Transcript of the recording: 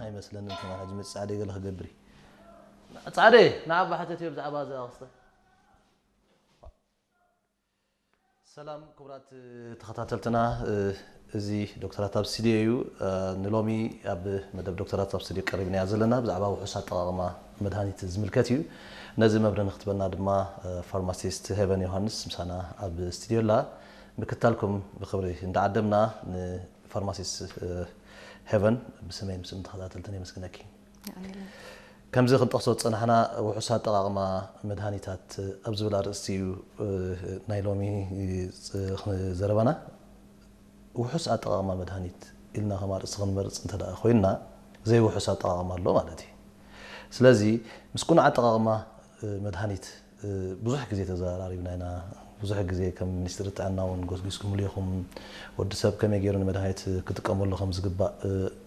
ኣይመስለንን። ከማን ሕጂ መፅእ ፃዕደ ገለ ክገብር እዩ። ፃዕደ ንዓባ ሕተት እዮ ብዛዕባ እዚ ኣክስተ። ሰላም ክቡራት ተኸታተልትና፣ እዚ ዶክተራት ኣብ ስቱዲዮ እዩ። ንሎሚ ኣብ መደብ ዶክተራት ኣብ ስቱዲዮ ቀሪብናያ ዘለና ብዛዕባ ውሑስ ኣጠቓቕማ መድሃኒት ዝምልከት እዩ። ነዚ መብርሂ ንክትበና ድማ ፋርማሲስት ሄቨን ዮሃንስ ምሳና ኣብ ስቱዲዮ ኣላ። ምክታልኩም ብክብሪ እንዳዓደምና ንፋርማሲስት ሄቨን ብስመይ ምስም ተኸታተልትን የመስግነኪ። ከምዚ ክንጠቕሶ ዝጸናሕና ውሑስ ኣጠቓቕማ መድሃኒታት ኣብ ዝብል ኣርእስቲ እዩ ናይ ሎሚ ዘረባና። ውሑስ ኣጠቓቕማ መድሃኒት ኢልና ከም ኣርእስቲ ክንመርጽ እንተ ደኣ ኮይንና ዘይውሑስ ኣጠቓቕማ ኣሎ ማለት እዩ። ስለዚ ምስ ቅኑዕ ኣጠቓቕማ መድሃኒት ብዙሕ ግዜ ተዘራሪብና ኢና። ብዙሕ ግዜ ከም ሚኒስትሪ ጥዕና እውን ጎስጒስኩምሉ ኢኹም። ወዲ ሰብ ከመይ ገይሩ ንመድሃኒት ክጥቀመሉ ከም ዝግባእ